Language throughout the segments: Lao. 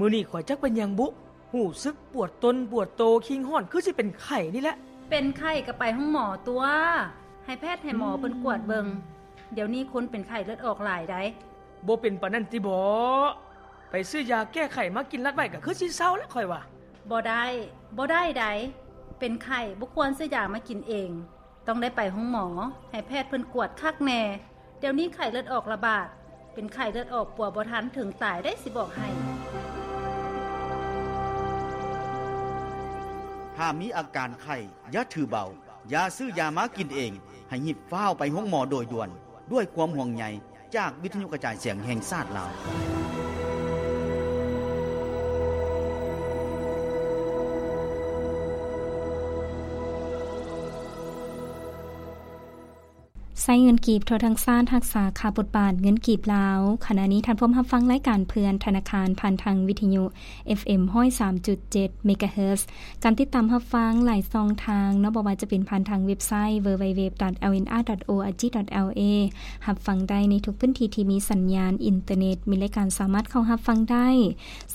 ມື້ນີ້ຂ້ອຍຈັກເປັນຫຍັງບຸ ຮູ້ສຶກປວດຕົນປວດໂຕ ຄີງຮ້ອນ ຄືຊິເປັນໄຂ້ນີ້ແຫຼະ. ເປັນໄຂ້ກໍໄປໂຮງໝໍຕົວະ ໃຫ້ແພດໃຫ້ໝໍເພິ່ນກວດເບິ່ງ. ດຽວນີ້ຄົນເປັນໄຂ້ເລືອດອອກຫຼາຍໃດ໋. ບໍ່ເປັນປານນັ້ນຕິບໍ? ໄປຊື້ຢາແກ້ໄຂ້ມາກິນລັດໄວ້ ກໍຄືຊິເຊົາລະຂ້ອຍວ່າ. ບໍ່ໄດ້ ບໍ່ໄດ້ໃດ໋. ເປັນໄຂ້ບໍ່ຄວນຊື້ຢາມາກິນເອງ. ຕ້ອງໄດ້ໄປໂຮງໝໍ ໃຫ້ແພດເພິ່ນກວດຄັກແນ່. ດຽວນີ້ໄຂ້ເລືອດອອກລະບາດ ເປັນໄຂ້ເລືອດອອກປົວບໍ່ທັນ ເຖິງຕາຍໄດ໋ ຊິບອກໃຫ້. ຖ້າມີອາການໄຂ້ ຢ່າຖືເບົາ, ຢ່າຊື້ຢາມາກິນເອງ, ໃຫ້ຮີບຟ້າວໄປໂຮງໝໍໂດຍດ່ວນ. ດ້ວຍຄວາມຫ່ວງໃຍຈາກວິທະຍຸກະຈາຍສຽງແຫ່ງຊາດລາວ. ໃຊ້ເງິນກີບທົ່ວທັງຊາດ ຮັກສາຄ່າບົດບາດເງິນກີບລາວ. ຂະນະນີ້ທ່ານພວມຮັບຟັງລາຍການເພື່ອນທະນາຄານ ຜ່ານທາງວິທະຍຸ ເອັຟເອັມ ຮ້ອຍສາມຈຸດເຈັດ ເມກາເຮີດ. ການຕິດຕາມຮັບຟັງຫຼາຍຊ່ອງທາງເນາະ, ບໍ່ວ່າຈະເປັນຜ່ານທາງເວັບໄຊ www.lnr.org.la ຮັບຟັງໄດ້ໃນທຸກພື້ນທີ່ທີ່ມີສັນຍານອິນເຕີເນັດ, ມີລາຍການສາມາດເຂົ້າຮັບຟັງໄດ້,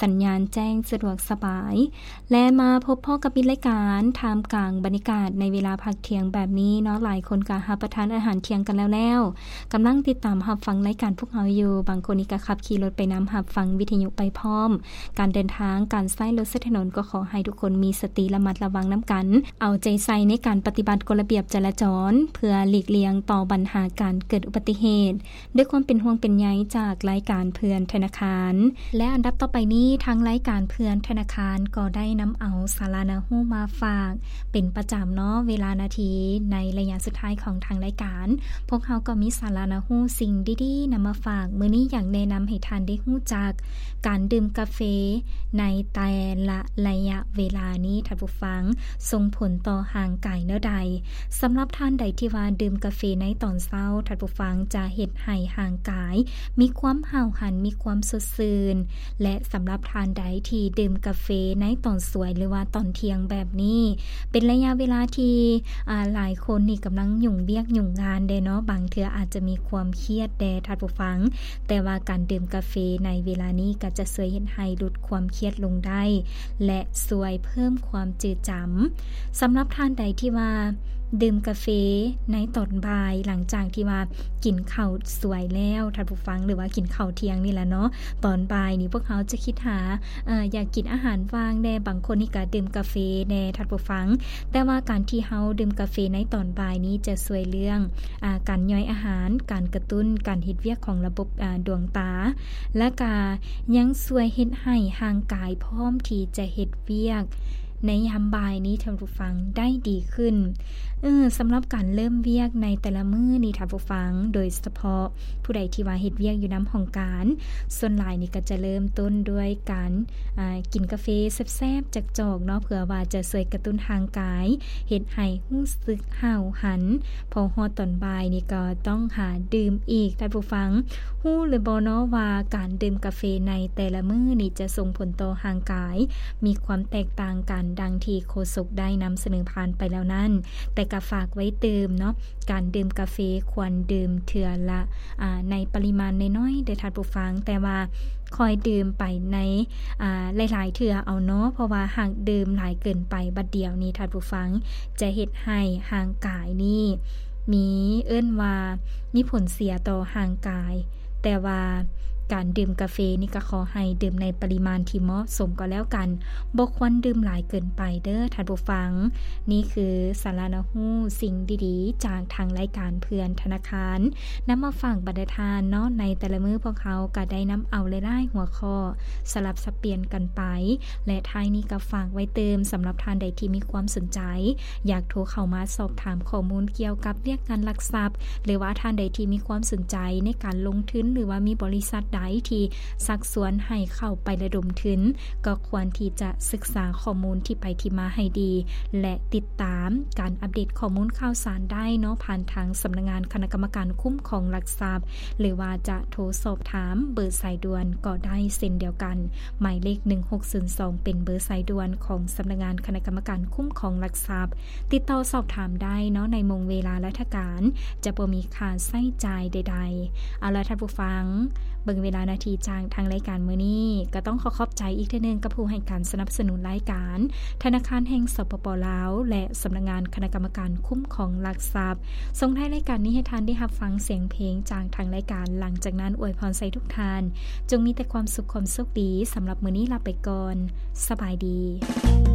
ສັນຍານແຈ້ງສະດວກສະບາຍ. ແລະ ມາພົບພໍ້ກັບມິດລາຍການ ທ່າມກາງບັນຍາກາດໃນເວລາພັກທ່ຽງແບບນີ້ເນາະ, ຫຼາຍຄົນກໍຮັບປະທານອາຫານທ່ຽງກັນແລ້ວໆ, ກຳລັງຕິດຕາມຮັບຟັງລາຍການພວກເຮົາຢູ່, ບາງຄົນນີ້ກໍຂັບຂີ່ລົດໄປນຳ, ຮັບຟັງວິທະຍຸໄປພ້ອມ. ການເດີນທາງ, ການໃຊ້ລົດໃຊ້ຖະໜົນ ກໍຂໍໃຫ້ທຸກຄົນມີສະຕິລະມັດລະວັງນຳກັນ, ເອົາໃຈໃສ່ໃນການປະຕິບັດກົດລະບຽບຈະລາຈອນ ເພື່ອຫຼີກລ່ຽງຕໍ່ບັນຫາການເກີດອຸບັດຕິເຫດ. ດ້ວຍຄວາມເປັນຫ່ວງເປັນໃຍຈາກລາຍການເພື່ອນທະນາຄານ. ແລະ ອັນດັບຕໍ່ໄປນີ້ ທາງລາຍການເພື່ອນທະນາຄານກໍໄດ້ນຳເອົາສາລະໜ້າຮູ້ມາຝາກເປັນປະຈຳເນາະ, ເວລານາທີໃນໄລຍະສຸດທ້າຍຂອງທາງລາຍການ ພວກເຮົາກໍມີສາລະໜ້າຮູ້ສິ່ງດີໆນຳມາຝາກ. ມື້ນີ້ຢາກແນະນຳໃຫ້ທ່ານໄດ້ຮູ້ຈັກ ການດື່ມກາເຟໃນແຕ່ລະໄລຍະເວລານີ້ ທ່ານຜູ້ຟັງ ສົ່ງຜົນຕໍ່ຮ່າງກາຍແນວໃດ? ສຳລັບທ່ານໃດທີ່ວ່າດື່ມກາເຟໃນຕອນເຊົ້າ ທ່ານຜູ້ຟັງ ຈະເຮັດໃຫ້ຮ່າງກາຍມີຄວາມຫ້າວຫັນ, ມີຄວາມສົດຊື່ນ ແລະ ສຳລັບທ່ານໃດທີ່ດື່ມກາເຟໃນຕອນສວຍ ຫຼືວ່າຕອນທ່ຽງແບບນີ້ ເປັນໄລຍະເວລາທີ່ ອາ ຫຼາຍຄົນນີ້ກຳລັງຫຍຸ້ງວຽກຫຍຸ້ງງານແດ່ເນາະ, ບາງເທື່ອອາດຈະມີຄວາມຄຽດແດ່ທ່ານຜູ້ຟັງ, ແຕ່ວ່າການດື່ມກາເຟໃນເວລານີ້ກໍຈະຊ່ວຍເຮັດໃຫ້ຫຼຸດຄວາມຄຽດລົງໄດ້ ແລະ ຊ່ວຍເພີ່ມຄວາມຈື່ຈຳ. ສຳລັບທ່ານໃດທີ່ວ່າດື່ມກາເຟໃນຕອນບ່າຍ ຫຼັງຈາກທີ່ວ່າກິນເຂົ້າສວຍແລ້ວ ທ່ານຜູ້ຟັງ, ຫຼືວ່າກິນເຂົ້າທ່ຽງນີ້ແຫຼະເນາະ, ຕອນບ່າຍນີ້ພວກເຮົາຈະຄິດຫາ ເອີ ຢາກກິນອາຫານວ່າງແດ່, ບາງຄົນນີ້ກໍດື່ມກາເຟແດ່ ທ່ານຜູ້ຟັງ. ແຕ່ວ່າການທີ່ເຮົາດື່ມກາເຟໃນຕອນບ່າຍນີ້ຈະຊ່ວຍເລື່ອງ ອາ ການຍ່ອຍອາຫານ, ການກະຕຸ້ນການເຮັດວຽກຂອງລະບົບ ອາ ດວງຕາ ແລະ ກະຍັງຊ່ວຍເຮັດໃຫ້ຮ່າງກາຍພ້ອມທີ່ຈະເຮັດວຽກໃນຍາມບ່າຍນີ້ ທ່ານຜູ້ຟັງ, ໄດ້ດີຂຶ້ນ. ເອີ ສຳລັບການເລີ່ມວຽກໃນແຕ່ລະມື້ນີ້ ທ່ານຜູ້ຟັງ, ໂດຍສະເພາະຜູ້ໃດທີ່ວ່າເຮັດວຽກຢູ່ນຳຫ້ອງການ, ສ່ວນຫຼາຍນີ້ກໍຈະເລີ່ມຕົ້ນດ້ວຍການ ອາ ກິນກາເຟແຊບໆຈັກຈອກເນາະ, ເພື່ອວ່າຈະຊ່ວຍກະຕຸ້ນຮ່າງກາຍ, ເຮັດໃຫ້ຮູ້ສຶກຫ້າວຫັນ. ພໍຮອດຕອນບ່າຍນີ້ກໍຕ້ອງຫາດື່ມອີກ, ທ່ານຜູ້ຟັງ. ຮູ້ຫຼືບໍ່ເນາະວ່າການດື່ມກາເຟໃນແຕ່ລະມື້ນີ້ຈະສົ່ງຜົນຕໍ່ຮ່າງກາຍ ມີຄວາມແຕກຕ່າງກັນ ດັ່ງທີ່ໂຄສົກໄດ້ນຳສະເໜີຜ່ານໄປແລ້ວນັ້ນ. ແຕ່ກໍຝາກໄວ້ຕື່ມເນາະ, ການດື່ມກາເຟຄວນດື່ມເທື່ອລະ ອາ ໃນປະລິມານນ້ອຍໆເດີທ່ານຜູ້ຟັງ, ແຕ່ວ່າຄ່ອຍດື່ມໄປໃນ ອາ ຫຼາຍໆເທື່ອເອົາເນາະ, ເພາະວ່າຫາກດື່ມຫຼາຍເກີນໄປບັດດຽວນີ້ ທ່ານຜູ້ຟັງ, ຈະເຮັດໃຫ້ຮ່າງກາຍນີ້ມີ ເອີ້ນວ່າມີຜົນເສຍຕໍ່ຮ່າງກາຍ. ແຕ່ວ່າການດື່ມກາເຟນີ້ກໍຂໍໃຫ້ດື່ມໃນປະລິມານທີ່ເໝາະສົມກໍແລ້ວກັນ, ບໍ່ຄວນດື່ມຫຼາຍເກີນໄປເດີທ່ານຜູ້ຟັງ. ນີ້ຄືສາລະໜ້າຮູ້ສິ່ງດີໆຈາກທາງລາຍການເພື່ອນທະນາຄານ ນຳມາຝາກບັນດາທ່ານເນາະ. ໃນແຕ່ລະມື້ພວກເຮົາກໍໄດ້ນຳເອົາຫຼາຍໆຫົວຂໍ້ສະຫຼັບສັບປ່ຽນກັນໄປ ແລະ ທ້າຍນີ້ກໍຝາກໄວ້ຕື່ມ, ສຳລັບທ່ານໃດທີ່ມີຄວາມສົນໃຈ ຢາກໂທເຂົ້າມາສອບຖາມຂໍ້ມູນກ່ຽວກັບວຽກງານຫຼັກຊັບ ຫຼືວ່າທ່ານໃດທີ່ມີຄວາມສົນໃຈໃນການລົງທຶນ ຫຼືວ່າມີບໍລິສັດໃດທີ່ຊັກຊວນໃຫ້ເຂົ້າໄປລະດົມທຶນ, ກໍຄວນທີ່ຈະສຶກສາຂໍ້ມູນທີ່ໄປທີ່ມາໃຫ້ດີ ແລະ ຕິດຕາມການອັບເດດຂໍ້ມູນຂ່າວສານໄດ້ເນາະ, ຜ່ານທາງສຳນັກງານຄະນະກຳມະການຄຸ້ມຄອງຫຼັກຊັບ ຫຼືວ່າຈະໂທສອບຖາມເບີສາຍດ່ວນກໍໄດ້ເຊັ່ນດຽວກັນ. ໝາຍເລກໜຶ່ງຫົກສູນສອງ ເປັນເບີສາຍດ່ວນຂອງສຳນັກງານຄະນະກຳມະການຄຸ້ມຄອງຫຼັກຊັບ. ຕິດຕໍ່ສອບຖາມໄດ້ເນາະ ໃນໂມງເວລາລາຊະການ, ຈະບໍ່ມີຄ່າໃຊ້ຈ່າຍໃດໆ. ເອົາລະທ່ານຜູ້ຟັງ, ເບິ່ງເວລານາທີຈາກທາງລາຍການມື້ນີ້ ກໍຕ້ອງຂໍຂອບໃຈອີກເທື່ອໜຶ່ງກັບຜູ້ໃຫ້ການສະໜັບສະໜູນລາຍການ ທະນາຄານແຫ່ງ ສປປ ລາວ ແລະ ສຳນັກງານຄະນະກຳມະການຄຸ້ມຄອງຫຼັກຊັບ. ສົ່ງທ້າຍລາຍການນີ້ໃຫ້ທ່ານໄດ້ຮັບຟັງສຽງເພງຈາກທາງລາຍການ. ຫຼັງຈາກນັ້ນອວຍພອນໃສ່ທຸກທ່ານ ຈົ່ງມີແຕ່ຄວາມສຸກຄວາມໂຊກດີ. ສຳລັບມື້ນີ້ລາໄປກ່ອນ. ສະບາຍດີ.